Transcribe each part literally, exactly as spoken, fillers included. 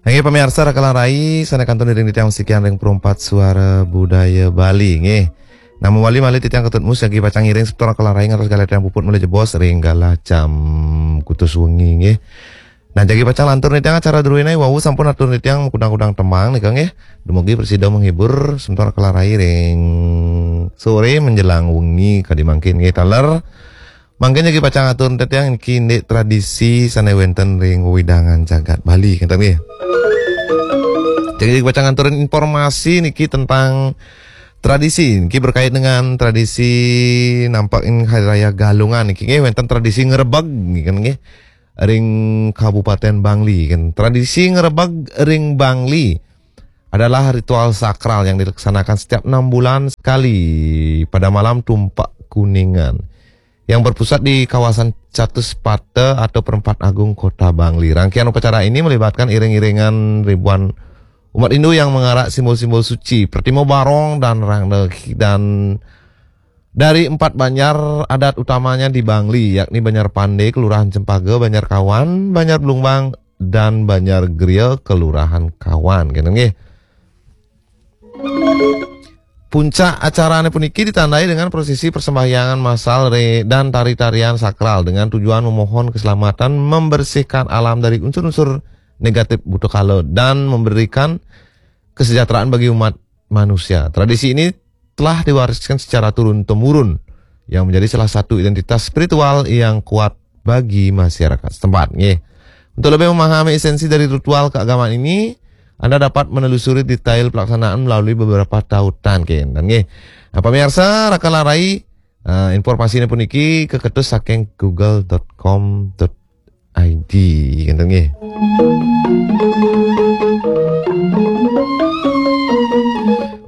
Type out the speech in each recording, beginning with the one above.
Nggih, pamiarsa, raka lan rai, sané kantun iring titiang masikian ring Perumpat Suara Budaya Bali, nggih. Nah, mawali malih titiang ketut mus jagi pacang ngiring semeton raka lan rai ngantos galah titiang puput malih jebos ring galah jam kutus wengi, nggih. Nah, jagi pacang lantur nitiang acara druéné wau sampun atur nitiang kudang-kudang tembang nika, nggih. Dumugi prasida menghibur semeton raka lan rai ring soré menjelang wengi kadi mangkin, nggih, taler. Mangkin jagi pacang atur titiang niki indik tradisi sané wénten ring wewidangan jagat Bali, ngéten nggih. Jagi, jagi pacang aturin informasi niki tentang tradisi niki berkait dengan tradisi nampek ing Hari Raya Galungan niki, nggih, wénten tradisi ngrebeg nggih, kan, nggih, ring Kabupaten Bangli, kan. Tradisi ngrebeg ring Bangli adalah ritual sakral yang dilaksanakan setiap enam bulan sekali pada malam Tumpak Kuningan yang berpusat di kawasan Catuspata atau Perempat Agung Kota Bangli. Rangkaian upacara ini melibatkan iring-iringan ribuan umat Hindu yang mengarak simbol-simbol suci, Pertimo Barong dan Rangda, dan dari empat banjar adat utamanya di Bangli, yakni Banjar Pande, Kelurahan Cempaka, Banjar Kawan, Banjar Belumbang, dan Banjar Gria, Kelurahan Kawan. Gitu, nggih. Puncak acaranya puniki ditandai dengan prosesi persembahyangan massal re-, dan tari-tarian sakral dengan tujuan memohon keselamatan, membersihkan alam dari unsur-unsur negatif buta kala, dan memberikan kesejahteraan bagi umat manusia. Tradisi ini telah diwariskan secara turun-temurun, yang menjadi salah satu identitas spiritual yang kuat bagi masyarakat setempat. Nggih. Untuk lebih memahami esensi dari ritual keagamaan ini, Anda dapat menelusuri detail pelaksanaan melalui beberapa tautan, nggih. Nah, pamiarsa, raka lan rai, eh, informasinya puniki kaketus saking google dot com dot I D, ngéten nggih.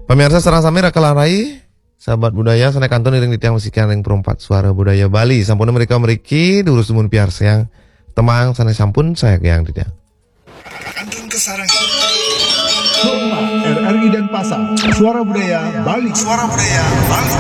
Pamiarsa sareng sami, raka lan rai, sahabat budaya, sané kantun iring titiang masikian ring Perumpat Suara Budaya Bali. Sampun mrika mriki, durus dumun piarsayang tembang sané sampun sayagayang titiang. Kantun kasarengin. Hormat R R I Denpasar, Suara Budaya Bali. Suara Budaya Bali.